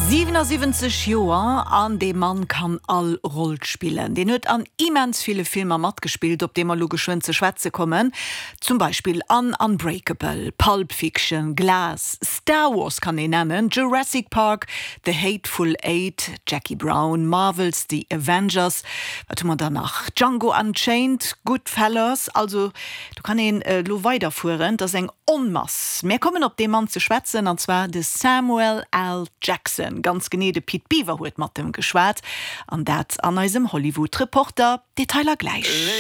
77 Joer an dee Mann kann all Roll spillen. Deen huet an immens ville Filmer matgespillt, op déi mer elo geschwënn ze schwätze kommen. Zum Beispill an Unbreakable, Pulp Fiction, Glass, Star Wars kann een nennen, Jurassic Park, The Hateful Eight, Jackie Brown, Marvel's The Avengers, wat hu mer dann nach, Django Unchained, Goodfellas, also do kann een elo weiderfueren, et ass eng Onmass. Mär kommen op dee Mann ze schwätzen, an zwar de Samuel L. Jackson, ganz genee de Pit Biwer huet mat em geschwat, an dat an eisem Hollywood Reporter. Detailer gläich.